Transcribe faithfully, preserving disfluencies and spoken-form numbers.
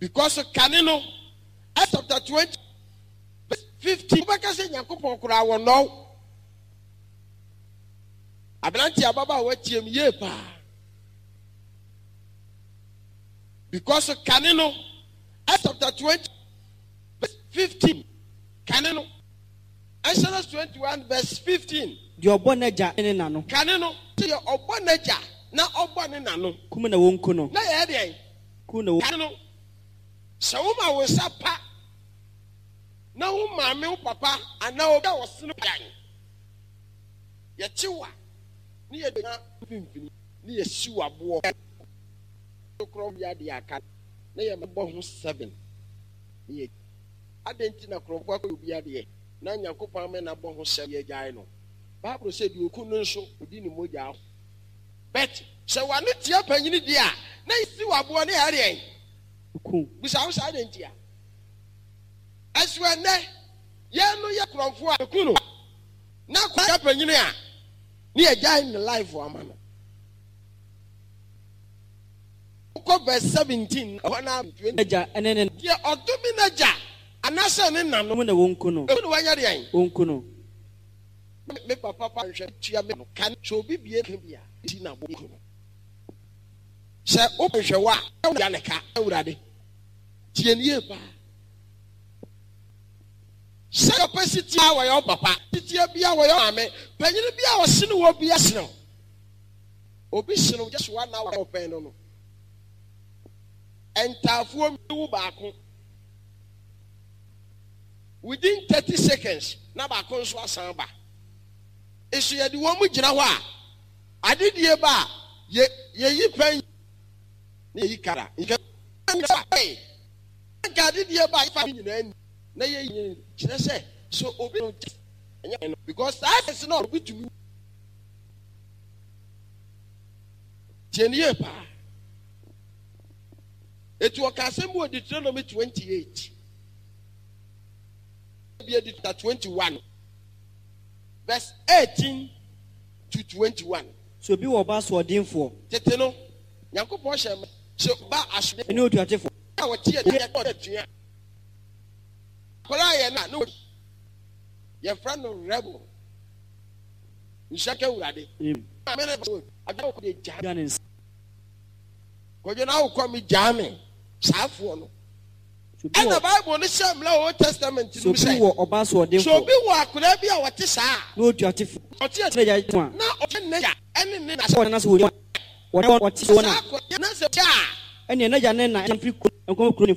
Because kane no, Acts chapter twenty verse fifteen, wobɛka sɛ Nyankopɔn koraa wɔ nnɔw. Aberante ababaawa tie m yie paa. Because kane no, Acts chapter twenty verse fifteen, kane no, Exodus twenty one verse fifteen. Deɛ ɔbɔ n'agya ne ne na no. Kane no, deɛ ɔbɔ n'agya na ɔbɔ ne na no. Kum na wɔnku no. Na yɛyɛ deɛn? Ku na wɔn. Kane no, sɛ woma wo nsa pa na wo maame, wo papa anaa obi a ɔsene pan, yɛkye wo a, ne yɛgyina mfimfini ne yɛsi wo aboɔ korɔ yɛ adeɛ aka na yɛbɔ ho seven ne yɛ. Adɛn nti na korɔmfoɔ akɔyɛ obi adeɛ na Nyankopɔn ama no abɔ ho seven yɛgyae no? Bible sɛ deɛ ɔku no nso ɔdi ne mogya ho. But sɛ w'ano tia panyini deɛ a, na yɛsi wo aboɔ ne yɛayɛ deɛn? Ku. Bisa wo sɛ adɛn ntia? Ɛso ɛnnɛ yɛn no yɛ korɔmfoɔ a yɛku no na akɔyɛ panyini a ne yɛgyae ne life ama no. Wokɔ verse seventeen ɛhɔ na twenty. N'agya ne ne. Deɛ ɔdome n'agya anaasɛ ne na no. Mu na wɔnku no. Emu na wɔnyɛ deɛn? Wɔnku no. Me papa pa nhwɛ tua me no ka sɛ obi bie ka bi a ti na bɔ ku no. Sɛ wopɛ hwɛ wo a ya ne ka Awurade. Tie ne yie paa. Sɛ ɔpɛ si tie a wɔyɛ wo papa, titie bi a wɔyɛ maame, panyin bi a ɔsene wɔ bi asene wo. Obi sene wo just one hour ɔpɛn no no. Ntaafoɔ mi wo baako. Within thirty seconds na baako nso asan ba. Nso yɛde wɔn mu gyina hɔ a, adedie ba a, yɛ yɛyi pɛn na yɛyi kara. Nka nka adedie ba a yɛfa nyinaa ni na yɛyi kyerɛ sɛ so obi no ɛnyɛ no because saa ɛsɛ na obi tumi tie ne yie paa. Etu ɔka asɛm bi wɔ Deuteronomy twenty eight bi edi twenty one verse eighteen to twenty one. Sɛ obi wɔ ɔba asoɔdenfoɔ. Tete no, Nyankopɔn hyɛ ma sɛ ɔba asoɔdenfoɔ. Ɛne otuatefoɔ. A wɔte atua atua. Akwadaa yɛ na ne yɛfrɛ no rebel. Nhyɛ ka Awurade. Maame ne ba adwa de gya ne nsa. Kwadwo na awokɔ mi gyaa me saafoɔ no. Ɛna Bible no hyɛ mmara wɔ Old Testament no mu sɛ obi wɔ ɔba asoɔdenfoɔ. Sɛ obi wɔ akwadaa bi a wɔte saa. Na otuatefoɔ. Ɔte atua. Na ɔte ne gya ɛne ne na. Sɛ ɔna sɛ wɔn wɔte wɔn a. Saa akwadaa na sɛ gya. Ɛne n'agya ne na mfiri kuro nkɔmɔ kuro ne